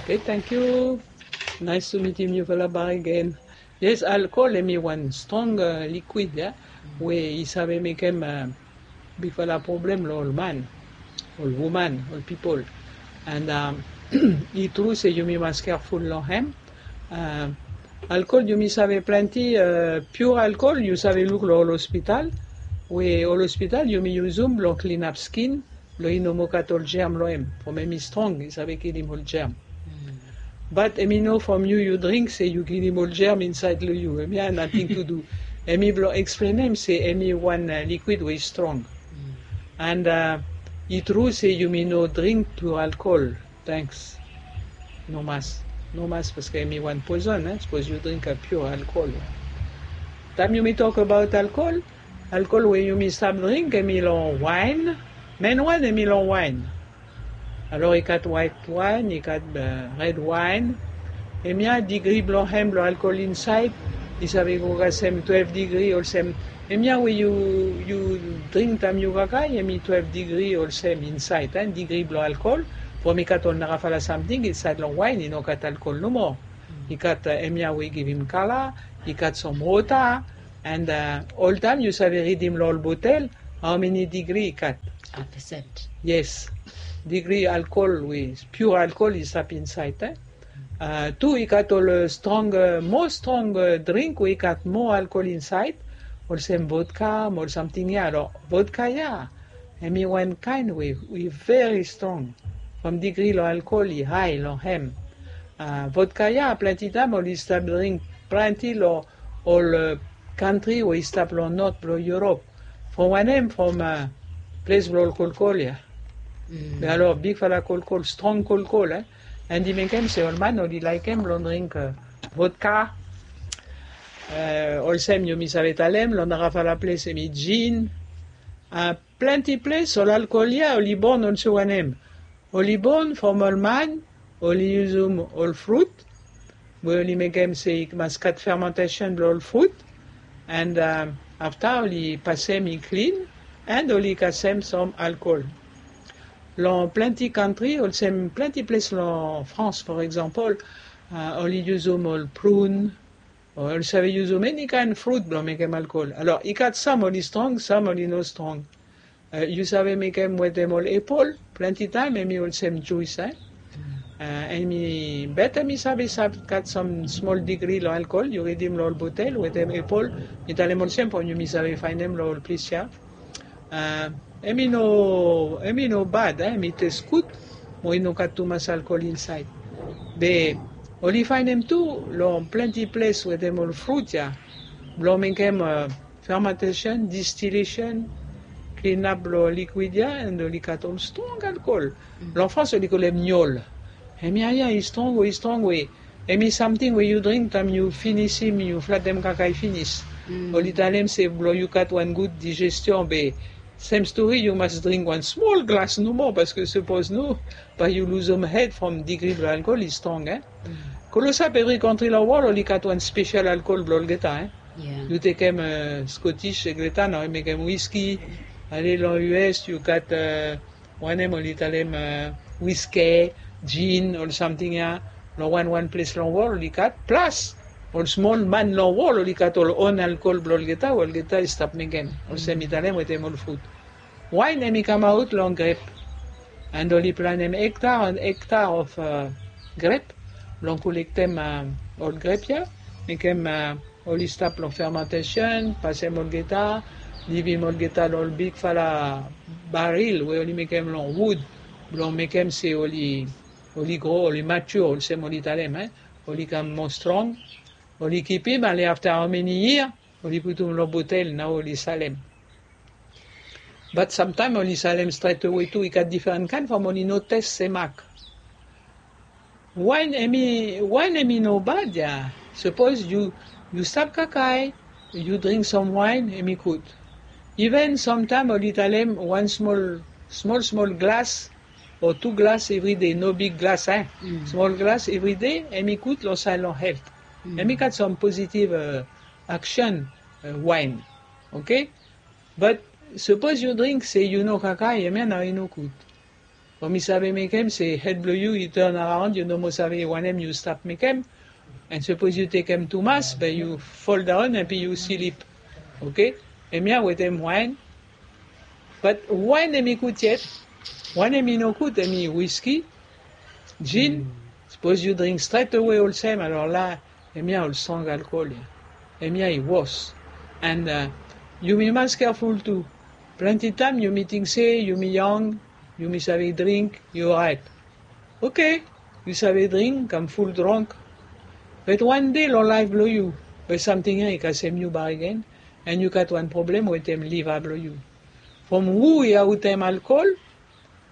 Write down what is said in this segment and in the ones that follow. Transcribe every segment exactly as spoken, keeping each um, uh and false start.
Hey, thank you. Nice to meet you, Mufala Bar again. Yes, alcohol, hemi wan strong uh, liquid, yeah? We i save mekem uh, bigfala problem lo ol man, ol woman, ol people. And um, i tru se yumi mas careful lo hem. Uh, alcohol, yumi save plenty uh, pure alcohol, you save look lo ol hospital. We ol hospital, yumi usum lo clean up skin, lo i no moa gat ol germ lo hem. From hemi strong, i save kilim ol germ. But hemi no from you, you drink, se you kilim ol germ inside lo you. Hemi have nothing to do. Hemi blo explain hem se hemi wan uh, liquid we strong. And uh, i tru se yumi no drink pure alcohol. Thanks. No mas. No mas, paske hemi wan poison, eh? Suppose you drink a pure alcohol. Taem yumi talk about alcohol, alcohol we yumi stap drink, hemi lo wine. Main wan, hemi lo wine. Alors, i gat white wine, i gat uh, red wine. Hemia degree blo hem blo alcohol inside, i save go kasem twelve degree olsem. Hemia we you, you drink taem you kakae, hemi twelve degree olsem inside, eh, degree blo alcohol. From i gat ol narafala samting inside lo wine, i no gat alcohol nomo. I gat uh, hemia we i givim kala, i gat some water, and uh, oltaem you save ridim lo ol botel, how many degree i gat? A percent. Yes. Degree alcohol we pure alcohol i stap inside, eh? Uh, tu i gat ol uh, strong, uh, more strong uh, drink we i gat more alcohol inside, olsem vodka, mo ol samting ya. Alors, vodka ya, hemi wan kaen we, we very strong. From degree lo alcohol i high lo hem. Uh, vodka ya, plenty taem oli stap drink plenty lo ol uh, country we i stap lo north blo Europe. From wanem, from uh, ples blo ol kolkol ya. Be alo bigfala kolkol, strong kolkol, eh? And i mekem se ol man oli laekem lo drink uh, vodka. Uh, olsem yumi save talem, lo narafala ples hemi gin. Uh, plenty ples ol alcohol ya oli born olsem wanem. Oli born from ol man oli usum ol fruit, we oli mekem se i mas gat fermentation blo ol fruit, and um, afta oli pasem i clean, and oli kasem some alcohol. Lo plenty country, olsem plenty ples lo France, for example, uh, oli usum ol prune, o oli save usum any kind fruit blo mekem alcohol. Alors, i gat some oli strong, some oli no strong. Uh, you save mekem wetem ol apple, plenty taem hemi olsem juice, eh? Uh, hemi, but hemi save, save gat some small degree lo alcohol, you ridim lo ol botel, wetem apple, mi talem olsem from yumi save faenem lo ol ples ya. Uh, hemi no, hemi no bad, eh? Hemi tes gud, mo i no gat tumas alcohol inside. Be oli faenem tu lo plenty ples wetem ol fruit ya, blo mekem uh, fermentation, distillation, clean up lo liquid ya, and oli gat ol strong alcohol. Lo France oli kolem niol. Hemia ya i strong we, i strong we, hemi samting we you drink taem you finisim, you flatem kakae finis. Oli talem se blo you gat wan gud digestion, be same story, you mas drink wan small glass nomo, paske suppose no, bae you luzum head from degree blo alcohol i strong, eh? Klosap, every country lo world oli gat wan special alcohol blo olgeta, eh? You tekem uh, Scottish, olgeta nao i mekem whisky. Ale lo U S, you gat uh, wanem oli talem uh, whisky, gin, ol samting ya. Lo wan wan ples lo world oli gat, plus ol smol man lo world oli gat ol own alcohol blo olgeta, olgeta i stap mekem. Olsem mi talem wetem ol fruit. Wine hemi kamaot lo grep. And oli planem hectare and hectare of uh, grep, blo kolektem uh, ol grep ya, mekem uh, oli stap lo fermentation, pasem olgeta, livim olgeta lo ol bigfala baril we oli mekem lo wood, blo mekem se oli, oli gro, oli mature, olsem oli talem, eh? Oli kam mo strong, oli kipim, ale afta how many year, oli putum lo botel, nao oli salem. But samtaem oli salem stret awe tu, i gat difren kaen from oli no tes se mak. Wine hemi, wine hemi no bad ya. Suppose you, you stap kakae, you drink some wine, hemi gud. Even samtaem oli talem wan smol, smol, smol glass o tu glass everyday, no big glass, eh? Smol glass everyday, hemi gud lo side lo health. Hemi gat some positive uh, action uh, wine. Okay? But suppose you drink se you no kakae, hemia nao i no gud. From i save mekem se hed blong yu i turn around, yu no moa save wanem yu stap mekem. And sapos yu tekem tumas, be yu fall down and be yu slip. Okay? Hemia wetem waen. But waen hemi gud yet. Waen hemi no gud, hemi whisky, gin. Sapos yu dring stret awe olsem, alor la, hemia ol strong alcohol ya. Hemia i wos. And uh, yumi mas careful tu. Plante taem yumi ting se yumi yong, yumi save dring, yu orait. Okay, yu save dring, kam full drunk. But wan dei long laef blong yu, be samting ya i kasem yu bakegen, and yu gat wan problem wetem liva blong yu. From hu i aotem alcohol,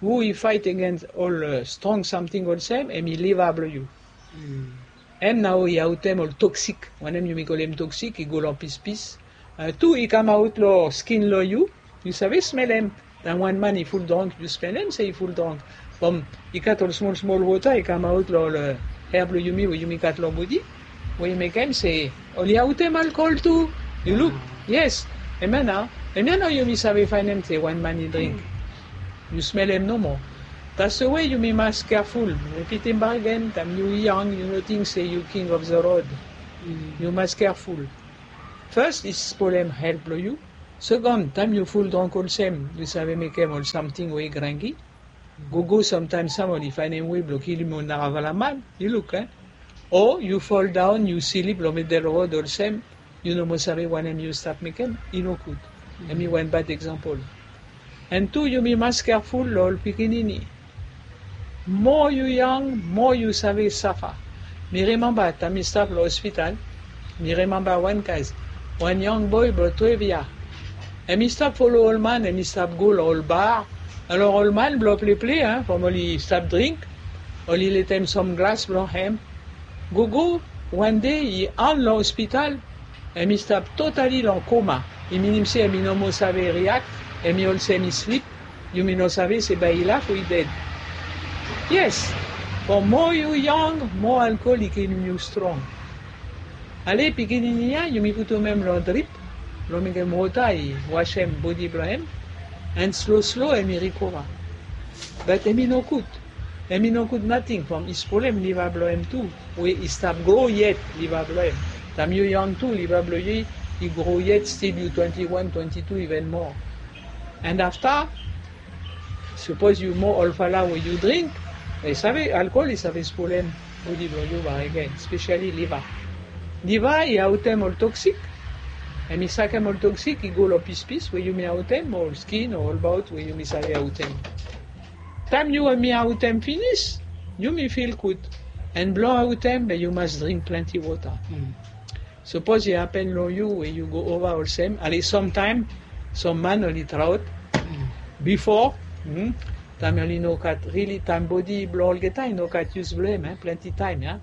hu i faet agens ol uh, strong samting olsem, hemi liva blong yu. Hem nao i aotem ol toksik, wanem yumi kolem toksik, i go long pispis. Uh, tu i kamaot long skin long yu, yu save smelem. Taem wan man i full drunk, yu smelem se i full drunk. From i gat ol smol smol wota i kamaot long ol uh, hair blong yumi we yumi gat long bodi, we i mekem se oli aotem alcohol tu. Yu luk? Yes. Hemia nao, hemia nao yumi save faenem se wan man i dring. Yu smelem nomo. That's the way yumi mas careful. Mi ripitim bakegen, taem yu yong, yu no ting se yu king of the road. Yu mas careful. First, i spolem health blong yu. Second, taem yu full drunk olsem, yu save mekem ol samting we i grenki. Gogo, sometimes sam oli faenem wei blong kilim ol narafala man. Yu luk, eh? O yu fall down, yu slip long middle road olsem, yu no moa save wanem yu stap mekem, i no gud. Hemi wan bad example. And tu, yumi mas careful long ol pikinini. Moa yu yong, moa yu save safa. Mi rimemba taem mi stap long hospital, mi rimemba wan kas, wan yong boe blong twelve yia. Hemi stap folo ol man, hemi stap go long ol bar. Alor ol man blong pleple, from oli stap dring, oli letem sam glas blong hem. Gogo, wan dei i on long hospital, hemi stap totally long coma. I minim se hemi no moa save react, hemi olsem i slip. Yumi no save se bae i laf o i ded. Yes, from moa yu yong, moa alcohol i kilim yu strong. Ale pikinini ya, yumi putum hem long drip blong mekem wota i wasem bodi blong hem, and slo slo hemi recover. But hemi no gud. Hemi no gud nating from i spolem liva blong hem tu, we i stap gro yet liva blong hem. Taem yu yong tu, liva blong yu i gro yet, stil yu twenty-one, twenty-two, even moa. And afta, sapos yu moa olfala we yu dring, i save, alcohol i save spolem bodi blong yu bakegen, specially liva. Liva i aotem ol toksik, hemi sakem ol toksik i go long pispis we yumi aotem, ol skin o ol baot we yumi save aotem. Taem yu hemi aotem finis, yumi feel gud. And blong aotem, be yu mas dring plante wota. Sapos i hapen long yu we yu go ova olsem, ale samtaem, sam man oli traot. Bifo, taem oli no gat, really taem bodi blong olgeta i no gat yus blong hem, eh, plante taem ya.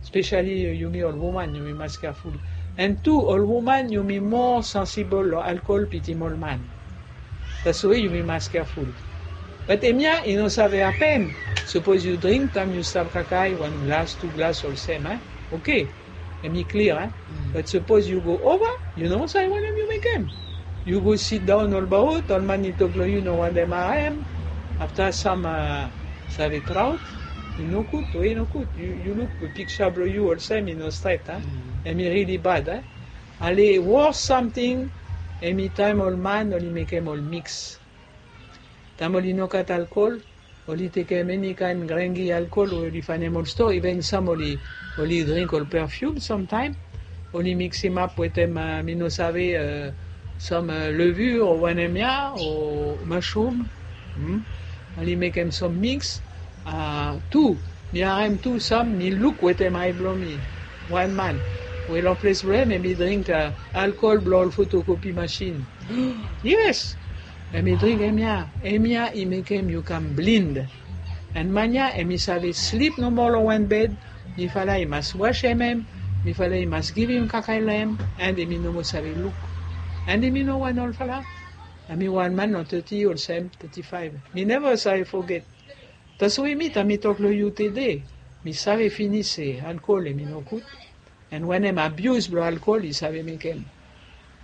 Specially uh, yumi ol woman, yumi mas careful. And tu, ol woman yumi moa sensible long alcohol pitim ol man. That's why yumi mas careful. But hemia i no save hapen. Sapos yu dring taem yu stap kakae wan glas, tu glas olsem, eh? Okay. Hemi clear, eh? But sapos yu go ova, yu no save wanem yu mekem. Yu go sidaon olbaot, ol man i tok long yu no wantem harem. Afta sam uh, save traot. I no gud, we i no gud. Yu, yu luk piksa blong yu olsem i no stret, eh? Hemi really bad, eh? Ale wos samting, hemi taem ol man oli mekem ol mix. Taem oli no gat alcohol, oli tekem eni kaen grenki alcohol we oli faenem ol stoa, even sam oli, oli dring ol perfume samtaem. Oli miksimap wetem, uh, mi no save, uh, sam uh, levure o wanem ya, o mushroom. Oli mekem sam mix. Uh, tu, mi harem tu sam, mi luk wetem ae blong mi. Wan man we long ples blong hem, hemi dring uh, alcohol blong ol photocopy machine. Yes. Hemi dring hemia, hemia i mekem yu kam blind. And man ya hemi save slip nomo long wan bed. Mifala i mas wasem hem, mifala i mas givim kakae long hem, and hemi no moa save luk. And hemi no wan olfala. Hemi wan man long thirty olsem, thirty-five. Mi neva save foget. That's why mi, taem mi tok long yu tede, mi save finis se alcohol hemi no gud. And wanem abuse blong alcohol i save mekem.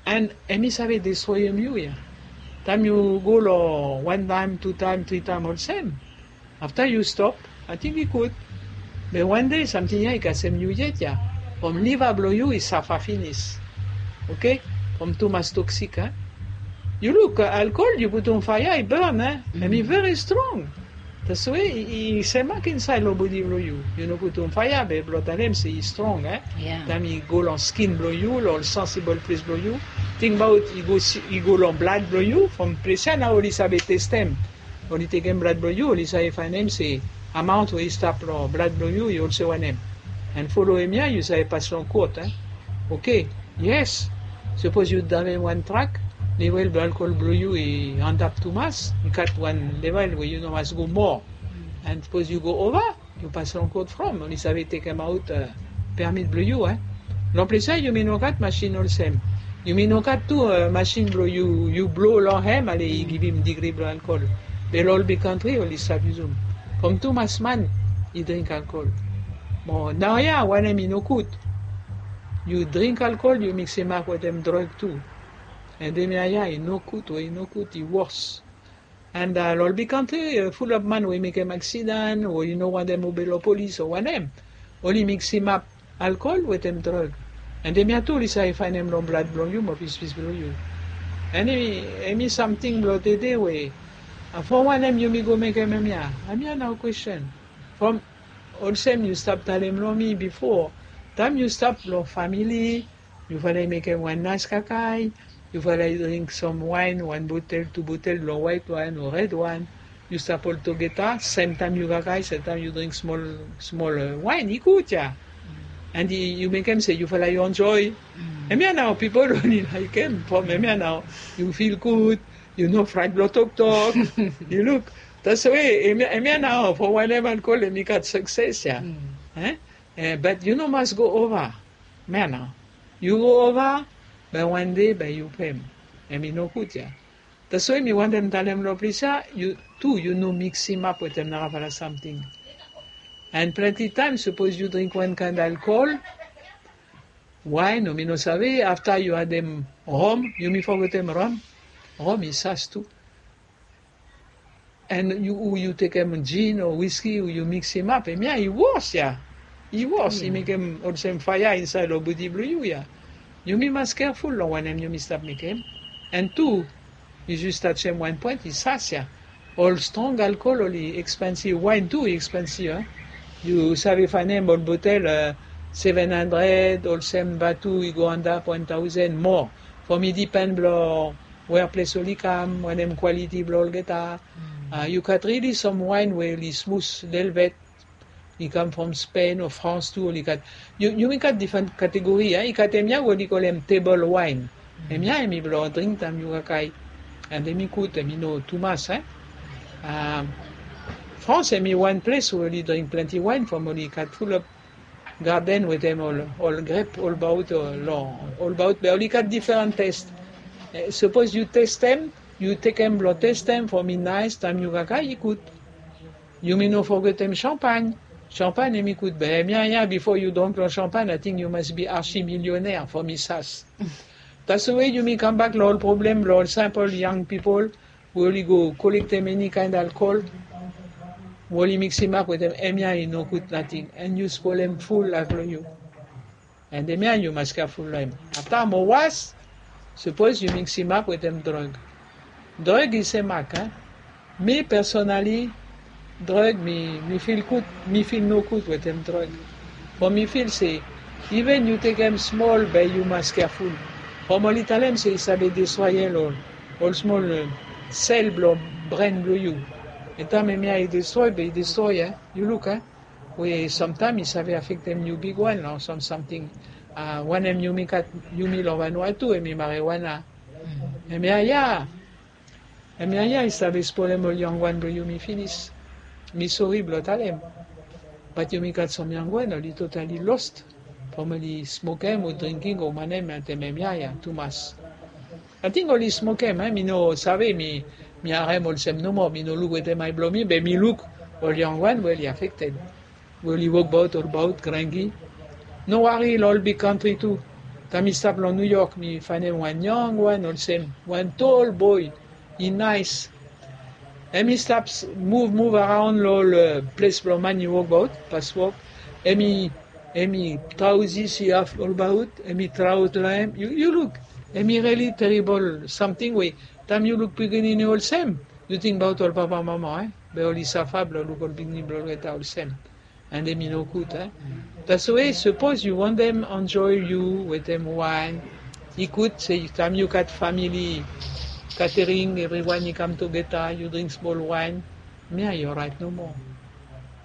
And hemi save destroyem yu ya. Taem yu go long wan taem, tu taem, tri taem olsem, Afta yu stop, ating i gud. Be wan dei samting ya i kasem yu yet ya. From liva blong yu i safa finis. Oke? From tumas toksik, a? Yu luk, alkol yu putum faea i bon, a? Hem i veri strong. Taswe i semak insaed long bodi blong yu. Yu no putum faea be blong talem se i strong, a? Taem i go long skin blong yu, long ol sansibol ples blong yu. Tingbaot i go long blad blong yu. From ples ya nao oli save testem. Oli tekem blad blong yu, oli save faenem se amaon we i stap long blad blong yu i olsem wanem. An folo hemia yu save pas long kot, a? Oke. Yes. Sapos yu draiv wan trak, level blong alkol blong yu i antap tumas, i gat wan level we yu no mas go moa. An sapos yu go ova, yu pas long kot from oli save tekemaot permit blong yu, a? Long ples ya yumi no gat masin olsem. Yumi no gat tu masin blong yu blo long hem ale i givim digri blong alkol. Be long ol big kantri oli stap yusum. From tumas man i dring alkol. Mo naoia wanem i no gud? Yu dring alkol yu miksimap wetem drog tu. An hemia ya i no gud we i no gud, i wos. An long ol big kantri, fulap man we i mekem aksidan o i no wantem obe long polis o wanem, oli miksimap alkol wetem drog. An hemia tu oli save faenem long blad blong yu mo pispis blong yu. An hemi samting blong tede we from wanem yumi go mekem hemia? Hemia nao kwestin. From olsem yu stap talem long mi bifo, taem yu stap long famili, yufala i mekem wan naes kakae, yufala i dring sam waen, wan botel, tu botel blong waet waen o red waen. Yu stap oltogeta, semtaem yu kakae, semtaem yu dring smol, smol waen, i gud ya. An yu mekem se yufala i enjoe. Hemia nao pipol oli laekem from hemia nao yu fil gud, yu no fraet blong toktok. Yu luk, taswe hemia nao from wanem alkol hemi gat sukses ya. Bat yu no mas go ova. Hemia nao yu go ova, bae wan dei bae yu pem. Hemi no gud ya. Taswe mi wantem talem long ples ya, yu tu yu no miksimap wetem narafala samting. An plante taem sapos yu dring wan kaen alkol, waen o mi no save, afta yu adem rom, yumi fogetem rom. Rom i sas tu. An yu, yu tekem jin o wiski, yu miksimap, hemia i wos ya. I wos, i mekem olsem faea insaed long bodi blong yu ya. Yumi mas keaful long wanem yumi stap mekem. An tu, yu jes tajem wan poen, i sas ya. Ol strong alkol oli ekspensiv, waen tu i ekspensiv, a? Yu save faenem ol botel seven hundred, olsem batu i go antap wan taosen mo. From i dipen blong wea ples oli kam, wanem kwaliti blong olgeta. Yu gat rili sam waen we oli smus lelebet. I kam from Spain o France tu, oli gat, yumi gat difren kategori ya. I gat hemia we oli kolem tebol waen. Hemia hemi blong dring taem yu kakae. An hemi gud, hemi no tumas, e. France hemi wan ples we oli dring plante waen from oli gat fulap gaden wetem ol, ol grep olbaot, long olbaot, be oli gat difren tes. Sapos yu testem, yu tekem blong testem from i naes taem yu kakae, i gud. Yumi no fogetem shampagne. Shampagne hemi gud, be hemia ya bifo yu drong long shampagne ating yu mas bi arsi milioner from i sas. Taswe yumi kambak long ol problem blong ol simpol yang pipol we oli go kolektem eni kaen alkol we oli miksimap wetem, hemia i no gud nating, an yu spolem ful laef blong yu. An hemia yu mas keaful long hem. Afta mo was, sapos yu miksimap wetem drog. Drog i semak, a? Mi pesonali, drog mi, mi fil gud, mi fil no gud wetem drog. From mi fil se iven yu tekem smol be yu mas keaful. From oli talem se i save destroe ol, ol smol sel blong bren blong yu. An taem hemia i destroe be i destroe, a? Yu luk, a? We samtaem i save afektem yu bigwan long sam samting. Wanem yumi gat, yumi long Vanuatu, hemi marijuana. Hemia ya, hemia ya i save spolem ol yangwan blong yumi finis. Mi sori blong talem. Bat yumi gat sam yangwan oli totali lost from oli smokem o drinking o wanem, ating hemia ya tumas. Ating oli smokem, e, mi no save, mi, mi harem olsem nomo, mi no luk wetem ae blong mi, be mi luk ol yangwan we oli afekted. We oli wokbaot olbaot grangi. No wari long ol big kantri tu. Taem mi stap long New York mi faenem wan yangwan olsem wan tol boe, i naes. Hemi stap muv muv araon long ol ples blong man i wokbaot, paswok. Hemi hemi traozi si haf olbaot, hemi traot long hem. Yu luk, hemi rili teribol samting we taem yu luk pikinini olsem, yu tingbaot ol papa mama e, be oli safa blong luk ol pikinini blong olgeta olsem. And hemi no gud e. That's why sapos yu wantem enjoy yu wetem waen, i gud se taem yu gat famili, katering, evriwan i kam tugeta, yu dring smol waen. Mia i oraet nomo.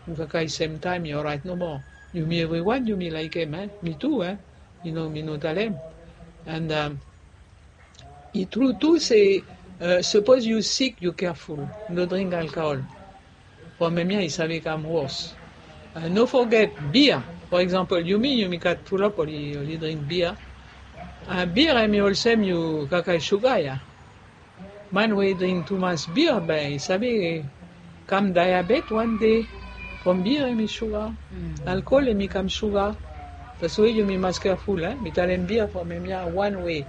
Yu kakae semtaem i oraet nomo. Yumi evriwan yumi laekem e, mi tu e. Mi no mi no talem. And i tru tu se sapos yu sik yu keaful, no dring alkohol. From hemia i save kam wos. No foget bia. For example, yumi yumi gat fulap oli dring bia. Bia hemi olsem yu kakae suga ya. Man we i dring tumas bia bae i save kam diabet wan dei. From bia hemi suga. Alkohol hemi kam suga. That's why yumi mas keaful e. Mi talem bia from hemia wan we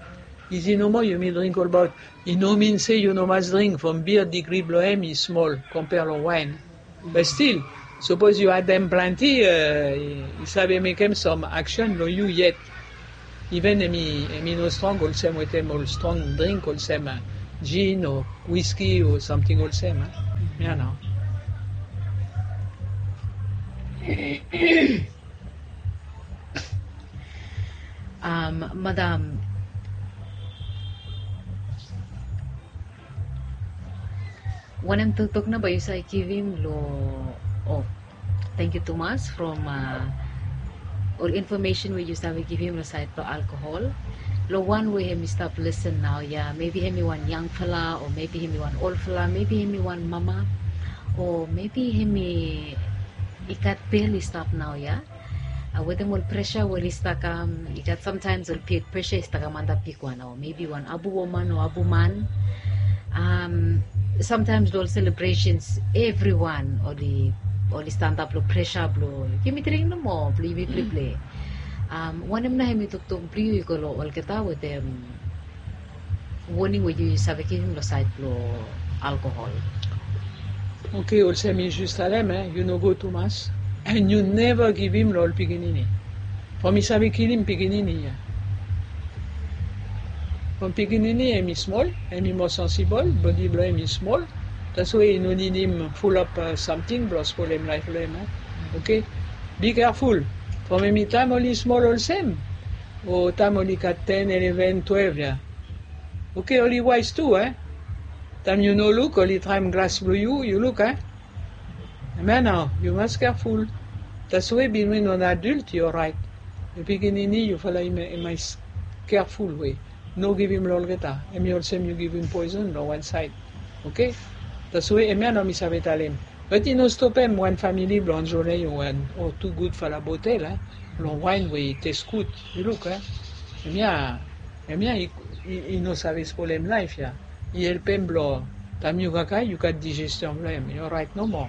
isi nomo yumi dring olbaot. I no min se yu no mas dring from bia, digri blong hem i smol kompea long waen. Be stil, sapos yu adem planti, i save mekem sam aksen long yu yet. Iven hemi no strong olsem wetem ol strong dring olsem jin o wiski o samting olsem. Mia nao. Madam, wanem toktok nao bae yu save givim long, o, tangkiu tumas from ol infomesen we yu save givim long saed blong alkohol long wan we hemi stap lisen naoia, mebi hemi wan yangfala o mebi hemi wan olfala, mebi hemi wan mama, o mebi hemi i gat bel i stap naoia. Wetem ol presa we oli stap kam, i gat samtaems ol presa i stap kam antap bigwan o mebi wan abu woman o abu man. Samtaems long ol selebresens evriwan oli oli stanap long presa blong yumi dring nomo blong yumi pleple. Wanem nao hemi toktok blong yu i go long olgeta wetem woning we yu save givim long saed blong alkohol? Oke, olsem mi jes talem, yu no go tumas. And yu neva givim long ol pikinini. From i save kilim pikinini ya. From pikinini hemi smol, hemi moa sensibol, bodi blong hem i smol. That's why i no nidim fulap samting blong spolem laef blong hem. Oke. Bi keaful. From hemi taem oli smol olsem, o taem oli gat ten, eleven, twelve ya. Oke, oli waes tu e. Taem yu no luk oli traem glas blong yu, yu luk e. Hemia nao yu mas keaful. That's why bin wen wan adult yu oraet. Yu pikinini yufala i mas keaful we no givim long olgeta. Hemi olsem yu givim poeson long wan saed. Oke. That's why hemia nao mi save talem. Bat i no stopem wan famili blong enjoem yu wan o tu gudfala botel long waen we i tes gud. Yu luk e. Hemia hemia i no save spolem laef ya. I helpem blong taem yu kakae yu gat dijestion blong hem i oraet nomo.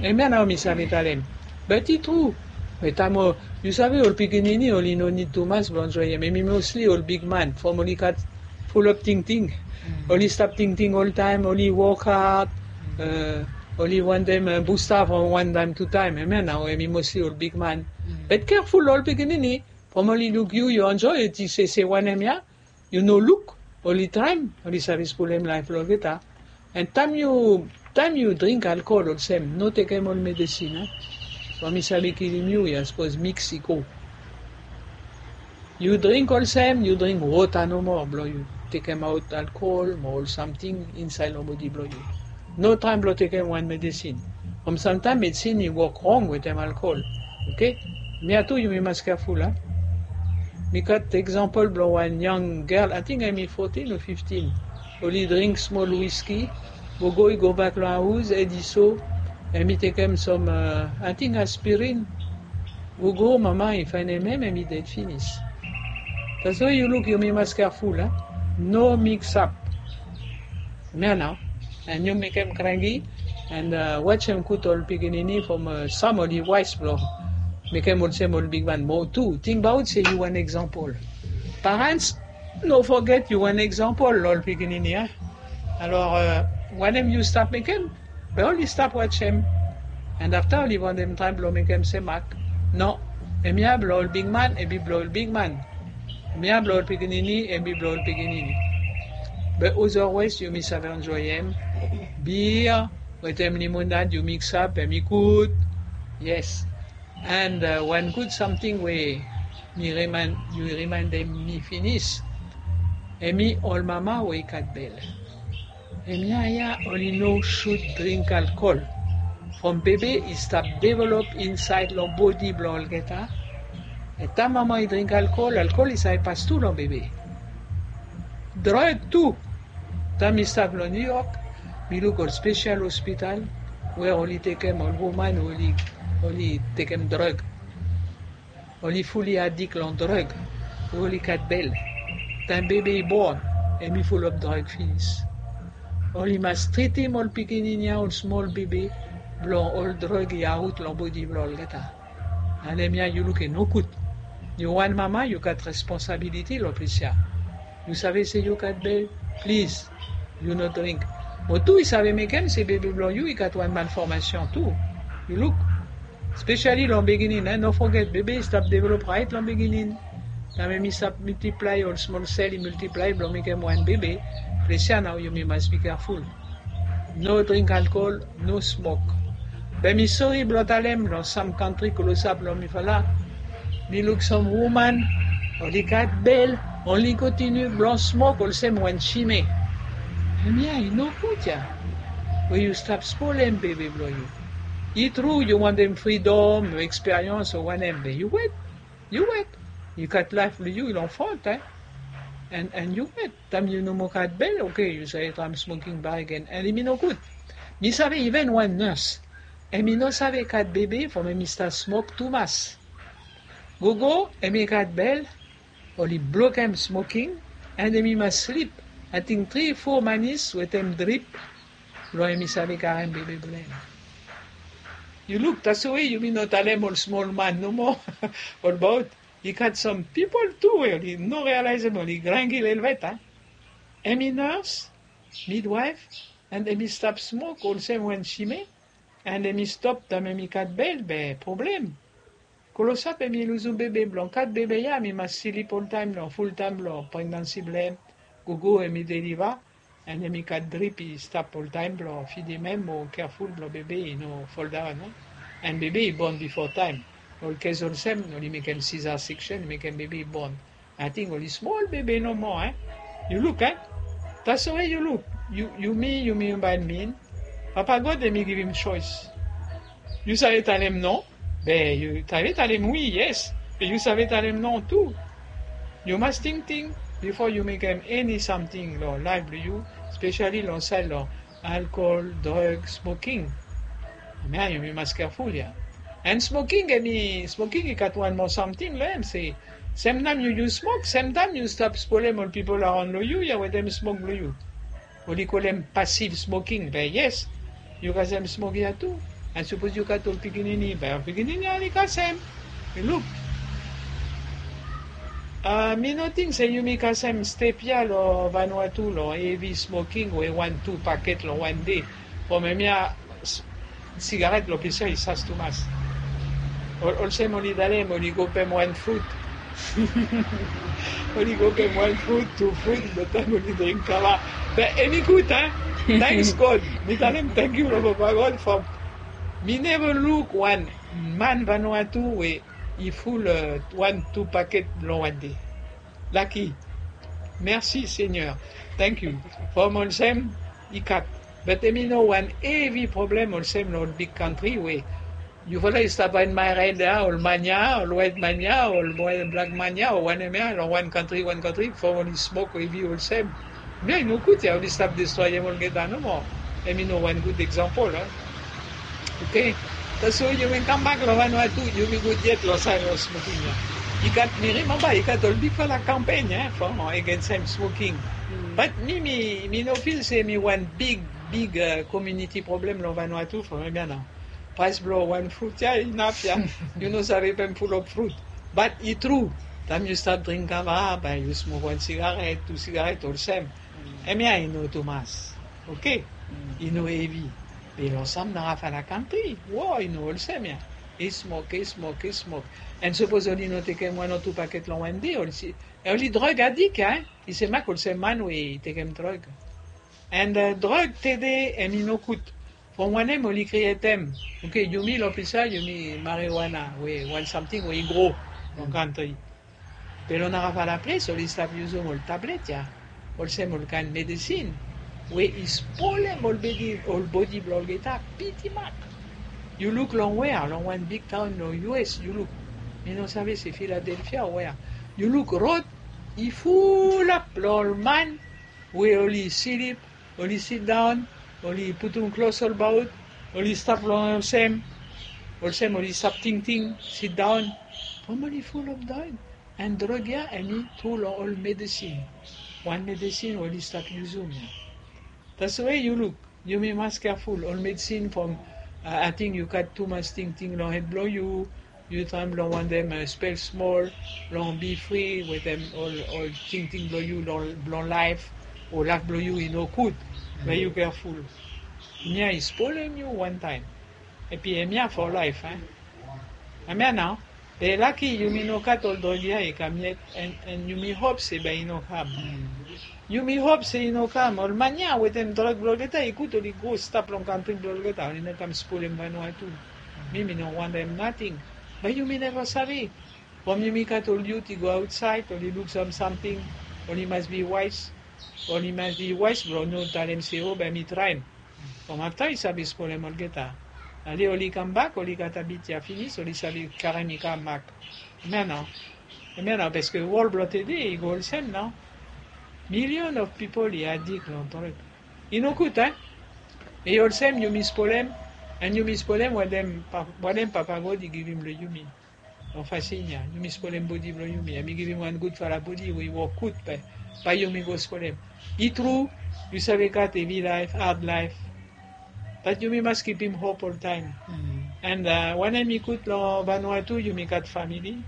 Hemia nao mi save talem. Bat i tru. Be taem yu save ol pikinini oli no nid tumas blong enjoem. Hemi mosli ol bigman from oli gat fulap tingting. Oli stap tingting oltaem, oli wok had, oli wantem busta from wan taem tu taem. Hemia nao hemi mosli ol bigman. Bat keaful ol pikinini. From oli luk yu yu enjoe, yu ting se se wanem ya. Yu no luk. Oli traem oli save spolem laef blong olgeta. And taem yu taem yu dring alkohol olsem, no tekem ol medesin a. From i save kilim yu ya sapos miks i go. Yu dring olsem yu dring wota nomo blong yu tekemaot alkohol mo ol samting insaed long bodi blong yu. No traem blong tekem wan medesin. From samtaem medesin i wok rong wetem alkohol. Oke. Mia tu yumi mas keaful a. Mi gat eksampol blong wan yang gel, ating hemi fotin o fiftin. Oli dring smol wiski, gogo i gobak long haos hed i so. Hemi tekem sam ating aspirin. Gogo mama i faenem hem hemi ded finis. Taswe yu luk yumi mas keaful a. No miksap. Mia nao. And yu mekem krangi. And wajem gud ol pikinini from sam oli waes blong mekem olsem ol bigman mo tu. Tingbaot se yu wan eksampol. Parents, no foget yu wan eksampol long ol pikinini a. Alor Wanem yu stap mekem, be oli stap wajem. And afta oli wantem traem blong mekem se mak. No, hemia blong ol bigman, hemi blong ol bigman. Hemia blong ol pikinini, hemi blong ol pikinini. Be otherwise yumi save enjoyem. Beer wetem limonad yu miksap, hemi gud. Yes. And uh, wan gud samting we mi remind, yu remindem mi finis, hemi ol mama we i gat bel. Hemia ya oli no sud dring alkol. From bebe i stap develop insaed long bodi blong olgeta. And taem mama i dring alkol, alkol i save pas tu long bebe. Drug tu. Taem mi stap long New York, mi luk ol spesial hospital we oli tekem ol woman we oli, oli tekem drug. Oli fuli adik long drug we oli gat bel. Taem bebe i bon, hemi fulop drug finis. Oli mas tritim ol pikinini ya, ol smol bebe, blong ol drug i aot long bodi blong olgeta. And hemia yu luk i nogud. Yu wan mama, yu gat responsabiliti long ples ya. Yu save se yu gat bel, plis, yu no dring. Mo tu i save mekem se bebe blong yu i gat wan malformation tu. Yu luk. Spesiali long biginin, eh, no foget, bebe i stap develop raet long biginin. Taem hemi stap miltiplae, ol smol sel i miltiplae blong mekem wan bebe. Ples ya nao yumi mas bi keaful. No dring alkol, no smok. Be mi sori blong talem long sam kantri klosap long mifala, mi luk sam woman oli gat bel, oli kontiniu blong smok olsem wan sime. Hemia i nogud ya. We yu stap spolem bebe blong yu. I tru yu wantem fridom, eksperians o wanem, be yu wet. Yu wet. Yu gat laef blong yu long front, eh. And, and yu wet. Taem yu no moa gat bel, oke, yu save traem smoking bakegen, and hemi nogud. Mi save iven wan nurse, hemi no save gat bebe from hemi stat smok tumas. Gogo hemi gat bel, oli blokem smoking, and hemi mas slip ating tri fo manis wetem drip blong hemi save karem bebe blong hem. Yu luk, taswe yumi no talem ol smol man nomo. Olbaot i gat sam pipol tu we oli no realaesem oli grangil helvet, a. Hemi nurse, midwife, and hemi stap smok olsem wan sime, and hemi stop taem hemi gat bel, be problem. Klosap hemi luzum bebe blong gat bebe ya, hemi mas slip oltaem long fultaem blong pregnansi blong hem. Gogo hemi deliva, and hemi gat drip i stap oltaem blong fidim hem mo keaful blong bebe i no foldaon, no? And bebe i bon bifo taem. Ol kes olsem oli mekem Caesar section, mekem bebe i bon. Ating oli smol bebe nomo, eh? Yu luk, eh? Taswe yu luk. Yu, yumi, yumi bae min. Papa God hemi givim soes. Yu save talem no? Be yu save talem wi, yes. Be yu save talem no tu. Yu mas tingting bifo yu mekem eni samting long laef blong yu, spesiali long saed long alkol, drug, smoking. Hemia yumi mas keaful ya. And smoking, hemi, smoking i gat wan moa samting long hem se, semtaem yu, yu smok, semtaem yu stap spolem ol pipol araon long yu ya wetem smok blong yu. Oli kolem pasiv smoking, be yes, yu kasem smok ya tu. And sapos yu gat ol pikinini, be ol pikinini ya oli kasem. Yu luk. A, mi no ting se yumi kasem step ya long Vanuatu long hevi smoking we wan tu paket long wan dei. From hemia, s-, sigaret long ples ya i sas tumas. Ol-, olsem oli talem oli go pem wan frut. Oli go pem wan frut, tu frut, be taem oli dring kava. Be hemi gud, a? Tanks God. Mi talem tangkiu long Papa God from mi neva luk wan man Vanuatu we i ful, e, wan tu paket long wan dei. Laki. Mersi Seigneur. Tangkiu. From olsem i gat. Be hemi no wan hevi problem olsem long ol big kantri we yufala i stap admaerem ya, ol man ya, ol waet man ya, ol blak man ya, o wanem ya, long wan kantri, wan kantri, from oli smok hevi olsem. Hemia i nogud ya, oli stap destroem olgeta nomo. Hemi no wan gud eksampol, a. Oke. Taswe yumi kambak long Vanuatu, yumi gud yet long saed long smoking ya. I gat, mi rimemba, i gat ol bigfala kampen ya from, e, agensem smoking. But mi, mi, mi no fil se hemi wan big, big, e, komuniti problem long Vanuatu from hemia nao. Praes blong wan frut ya inaf ya. Yu no save pem fulop frut. But i tru, taem yu stap dring kava, bae yu smok wan sigaret, tu sigaret olsem. Hemia i no tumas. Oke. I no hevi. Be long sam narafala kantri, wow, i no olsem ya. I smok, i smok, i smok. An sapos oli no tekem wan o tu paket long wan dei, oli si, oli drug adik ya. I se mak olsem man we i tekem drug. An drug tede hemi no gud. From wanem oli krietem. Oke, yumi long pisa, yumi marijuana we wan samting we i gro long kantri. Be long narafala ples oli stap yusum ol tablet ya, olsem ol kaen medesin we i spolem ol bodi, ol bodi blong olgeta piti mak. Yu luk long wea, long wan bigtaon long U S, yu luk, mi no save se Philadelphia o wea, yu luk rod i fulap long ol man we oli slip, oli sidaon, oli putum klos olbaot, oli stap long olsem, olsem oli stap tingting, sidaon. From oli fulap daon. An drug ya hemi tru long ol medesin. Wan medesin oli stap yusum ya. Taswe yu luk, yumi mas keaful, ol medesin from, ating yu gat tumas tingting long hed blong yu, yu traem blong wantem spel smol, blong bi fri wetem ol, ol tingting blong yu, blong laef, o laef blong yu i no gud. Be yu keaful. Hemia i spolem yu wantaem. Epi hemia for laef, a. Hemia nao. Be laki yumi no gat ol drug ya i kam yet, an, an yumi hop se bae i no kam. Yumi hop se i no kam. Ol man ya wetem drug blong olgeta i gud oli go stap long kantri blong olgeta, oli no kam spolem Vanuatu. Mi, mi no wantem nating. Be yumi neva save. From yumi gat ol yut i go aotsaed, oli luk sam samting, oli mas bi waes. Oli mas bi waes blong no talem se, o, be mi traem. From afta i save spolem olgeta. Ale oli kambak, oli gat abit ya finis, oli save karem i kambak. Hemia nao. Hemia nao, paske wol blong tede i go olsem nao. Million of people i adik long drug. I no gud, a? I olsem yumi spolem, an yumi spolem wanem pa-, wanem Papa God i givim long yumi. Long fasin ya, yumi spolem bodi blong yumi. Hemi givim wan gudfala bodi we i wok gud, be bae yumi go spolem. I tru, yu save gat hevi laef, had laef. Bat yumi mas kipim hop oltaem. An, a, wanem i gud long Vanuatu, yumi gat famili.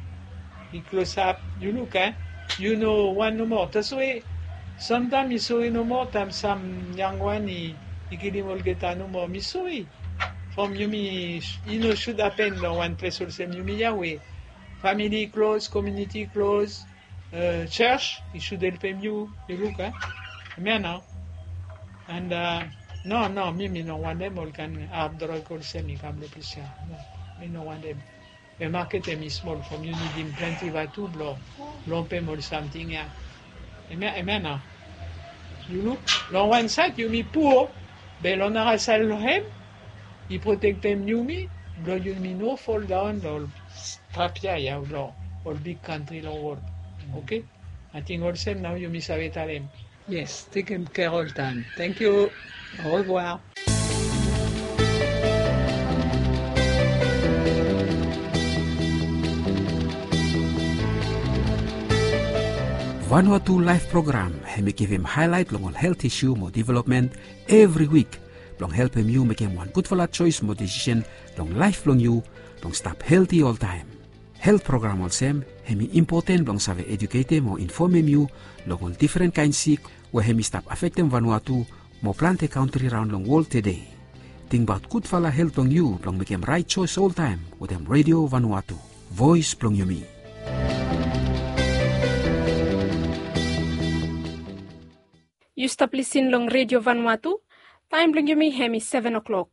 I klosap, yu luk, a? Yu no wan nomo. Taswe, samtaem mi sore nomo taem sam yangwan i, i kilim olgeta nomo. Mi sore. From yumi, i no sud hapen long wan ples olsem yumi ya we famili klos, komuniti klos, e, jos i sud helpem yu, yu luk, a? Hemia nao. An, a, no, no, mi, mi no wantem ol kaen had drug olsem i kam long ples ya. No, mi no wantem. Be maket hemi smol from yu nidim plante vatu blong, blong pem ol samting ya. Hemia, hemia nao. Yu luk, long wan saed yumi pua, be long nara saed long hem, i protektem yumi, blong yumi no foldaon long ol trap ya, ya long ol big kantri long wol. Oke? Ating olsem nao yumi save talem. Yes, tekem kea oltaem. Tangkiu. Au revoir. Vanuatu Laef program hemi givim haelaet long ol helt isu mo developmen evri wik blong helpem yu mekem wan gudfala joes mo desisen long laef blong yu blong stap helti oltaem. Helt program olsem hemi impoten blong save eduketem o infomem yu long ol difren kaen sik we hemi stap afektem Vanuatu mo plante kantri raon long wol tede. Tingbaot gudfala helt blong yu blong mekem raet joes oltaem wetem Redio Vanuatu, voes blong yumi. Yu stap lisin long Redio Vanuatu, taem blong yumi hemi seven o'clock.